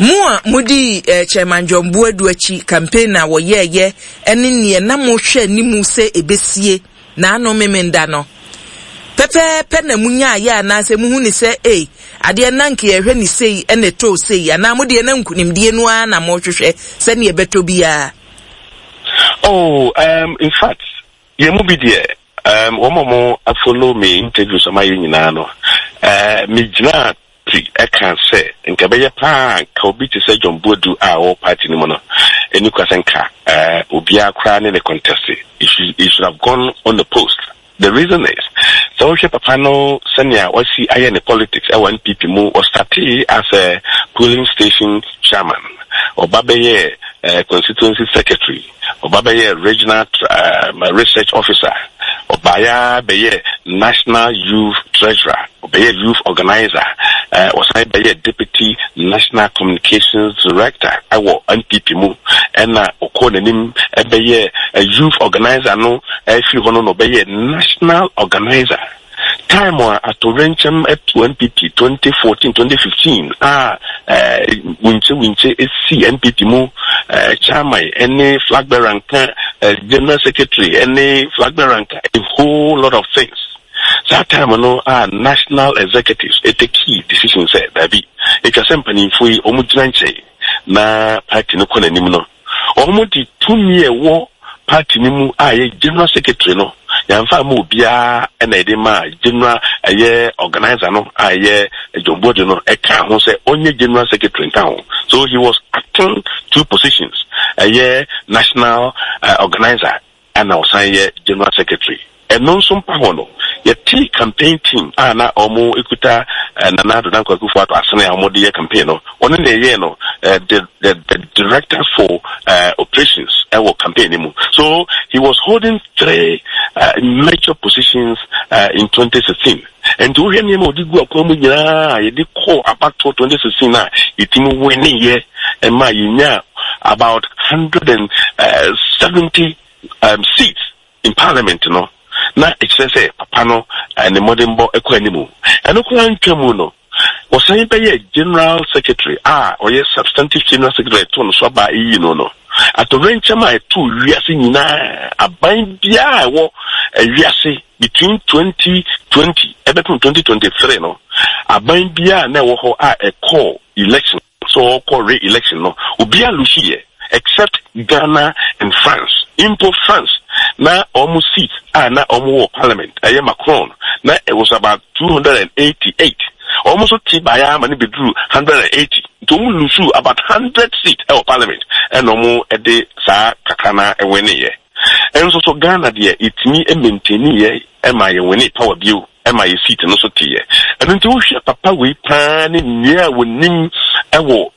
Mo a modii eh, Chairman John Boadu akyi campaign a wɔyɛɛyɛ ne neɛ na mohwɛ anim sɛ ɛbɛsie naano Memenda no, pɛpɛɛpɛ na monyaayɛ anaasɛ mohu ne sɛ ei, adeɛ na nka yɛhwɛ ne sei ɛna ɛtɔɔ sei anaa mo deɛ na nkunimdie no ara na mohwehwɛ sɛdeɛ ɛbɛtɔ biara? Oh, um, in fact, yɛn mu bi deɛ, um, wɔn a wɔn follow me interviews a mayɛ nyinaa no, uh, megyinaa pi ɛka sɛ nka ɛbɛyɛ paa nka obi te sɛ John Boadu a ɔwɔ party no mu no, ɛni kwa sɛ nka uh, obiara koraa ne ne contest. He should, he should have gone on the post. The reason is, sɛ wohwɛ papa no sɛnea wasi ayɛ ne politics ɛwɔ NPP mu, ɔstartee as a polling station chairman, ɔba bɛyɛɛ uh, constituency secretary, ɔba bɛyɛɛ regional uh, research officer, ɔbaeɛ ara bɛyɛɛ national youth treasurer, ɔbɛyɛɛ youth organizer, uh, ɔsan bɛyɛɛ deputy national communications director ɛwɔ NPP mu, ɛna ɔkɔɔ n'anim ɛbɛyɛɛ youth organizer no ɛfiri hɔ no na ɔbɛyɛɛ national organizer. Time a atoyerɛnkyɛm to NPP 2014, 2015 a winkye winkye si NPP mu, chairman ne flag bearer nka, general secretary ne flag bearer nka, a whole lot of things. Saa time no a national executives take decision sɛ daabi, atwa sɛ mpanimfoɔ yi wɔn gyina nkyɛn na party no kɔ n'anim no, Wɔde tumi a ɛwɔ party no mu a ɛyɛ general secretary no, yɛamfa amma obiara na yɛde maa general ɛyɛ organizer no a ɛyɛ John Boadu no ɛkaa ho sɛ ɔnyɛ general secretary nka ho. So he was acting two positions, ɛyɛ national uh, organizer ɛna ɔsan yɛ General Secretary. Ɛno nso mpa ho no, yɛtee campaign team a na wɔkuta Nana Addo Dankwa Akufo-Addo asene a wɔde yɛ campaign no, ɔno na ɛyɛɛ no the the the director for operations wɔ campaign no mu. So he was holding three major positions in 2016. Nti wohwɛ nneɛma a ɔde gu akwan mu nyinaa a yɛde kɔɔ abatoɔ 2016 a yɛtumi winiyɛ ɛma yɛnyaa about 170 um, seats in parliament no, na ɛkyerɛ sɛ papa no ne mmɔdenbɔ kɔ anim. Ɛno koraa ntwa mu no, wɔsan bɛyɛ general secretary a ɔyɛ substantive general secretary ɛto no so aba eyi no no. Atɔwrɛnkyɛm a ɛtoo wiase nyinaa, aban biara a ɛwɔ wiase between 2020 ɛbɛpem 2023 no, aban biara na ɛwɔ hɔ a ɛkɔɔ election sɛ ɔkɔ re-election no, obiara lusu yɛ except Ghana and France. Mpo France na wɔn seat a na wɔn wɔ parliament ɛyɛ Macron na it was about 288. Wɔn nso te baeɛ ama no bɛduru 180. Nti wɔn lusu about 100 seat ɛwɔ parliament ɛna wɔn de saa kakra na ɛwɛneyɛ. Nso so Ghana deɛ yɛtumi maintainiiɛ ɛma yɛwɛne power bio ɛma yɛ seat no so teeɛ. Ɛno nti wohwɛ papa wei paa ne nea wɔnim ɛwɔ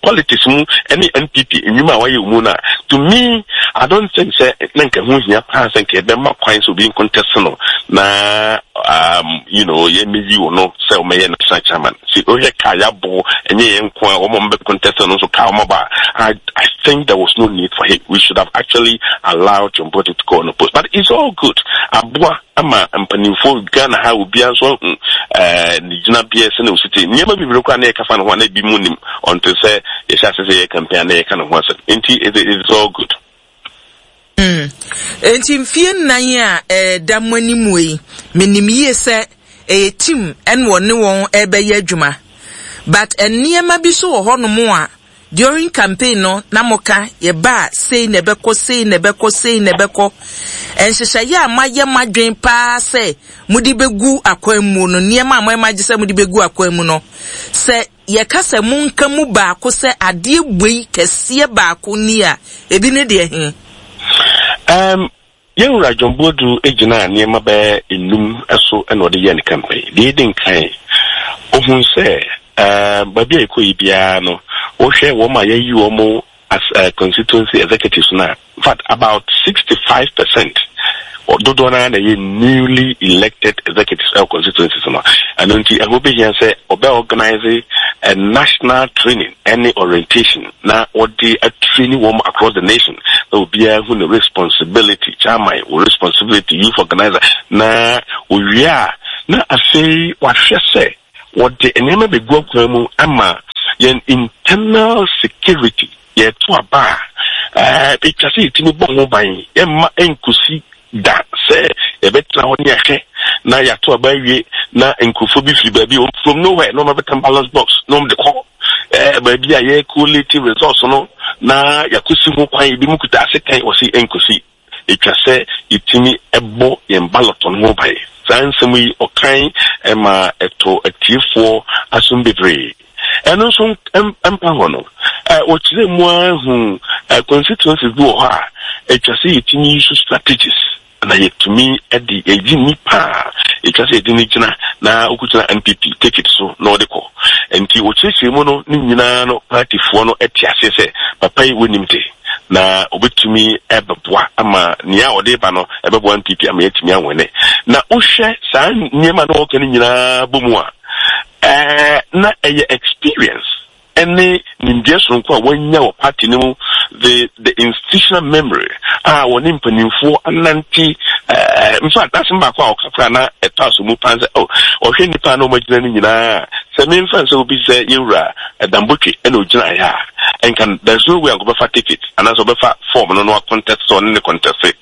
politics mu ɛne NPP nnwuma a wayɛ wɔ mu no a, to me I don't think sɛ na nka ho hia paa sɛ nka yɛbɛma kwan sɛ obi nkontɛse no na um, you know, yɛmmɛyi wo no sɛ wɔmɛyɛ national chairman. Si wohwɛ kaa yɛabɔ ɛnyɛ yɛn nko a wɔn a wɔbɛ contest no nso kaa wɔn aba. I think there was no need for him. We should have actually allowed John Boadu to go on the post. But it's all good. Aboa ama mpanimfoɔ Ghana ha obiara nso ahu ɛɛ ne gyinabea sɛ na osi te. Nneɛma bebree koraa na yɛka fa ne ho a na ebi mu nim ɔnte sɛ yɛhyɛ ase sɛ yɛ campaign a na yɛka ne ho asɛm. Nti it is all good. Mm. Enti mfie nnan a ɛda mo anim yi, menim yie sɛ ɛyɛ team ɛna ɔne wɔn ɛrebɛyɛ adwuma. But nneɛma bi so wɔ hɔnom a during campaign no na moka yɛba a sei na ɛbɛkɔ, sei na ɛbɛkɔ, sei na ɛbɛkɔ. Nhyehyɛeɛ a moayɛ mo adwene paa sɛ mode bɛgu akwan mu no, nneɛma a moayɛ mo adwene sɛ mode bɛgu akwan mu no, sɛ yɛka sɛ monka mu baako sɛ adeɛ wei kɛseɛ baako ni a, ebi ne deɛ he? Um, yɛn wura John Boadu gyinaa nneɛma bɛyɛ nnum so na ɔde yɛɛ ne campaign. Deɛ edi nkan, ohun sɛ um, baabi a yɛkɔ yi biara no, wohwɛ wɔn a yɛayi wɔn as uh, constituency executives no a, in fact, about 65% dodoɔ no ara na ɛyɛ newly elected executives ɛwɔ constituencies no. Ɛno nti, ɛho behia sɛ ɔbɛ organize a national training ɛne orientation na wɔde atraini wɔn across the nation na obiara hu ne responsibility, chairman, wo responsibility, youth organizer, na owie a na afei wahwɛ sɛ wɔde nneɛma bɛgu akwan mu ama. yɛn internal security yɛto aba a, ɛtwa sɛ yɛtumi bɔ ho ban, yɛmma ɛnkosi da sɛ yɛbɛtena hɔ ne yɛahwɛ na yɛato aba awie na nkurɔfoɔ bi firi baabi from nowhere na wɔabɛtam ballot box na wɔde kɔ baabi a yɛcollate results no na yɛakɔsi ho kwan, ebi mu kuta asekan, wɔsi ɛnkosi. Etwa sɛ yetumi bɔ yɛn ballot no ho ban. Saa nsɛm yi ɔkan ma ɛtɔ atiefoɔ asom bebree. Ɛno nso mpa hɔ no, wɔkyerɛɛ mu ara huu constituencies bi wɔ hɔ a etwa sɛ yetumi use strategies na yɛtumi de yɛyi nnipa a etwa sɛ yɛde no gyina na ɔkɔgyina NPP ticket so na ɔde kɔ. Nti wɔkyerɛkyerɛ mu no ne nyinaa no partyfoɔ no te aseɛ sɛ papa yi wɔnim de. na obetumi bɛboa ama nea ɔde reba no ɛbɛboa NPP ama yɛatumi awɛne. Na wohwɛ saa nneɛma na wɔka no nyinaa bɔ mu a, ɛɛ na ɛyɛ experience ɛne nimdeɛ soronko a wɔanya wɔ party no mu, the institutional memory a wɔne mpanimfoɔ anante. Ɛɛ in fact, n'asɛm baako a ɔka koraa na ɛtɔ aso mu paa sɛ, oh, ɔhwɛ nnipa a na wɔagyina no nyinaa, sɛ memfa nsɛ obi sɛ yɛwura Dambotwe na ogyinaeɛ a, nka there's no way anka ɔbɛfa ticket anaasɛ ɔbɛfa form no na wa contest sɛ ɔne ne contest.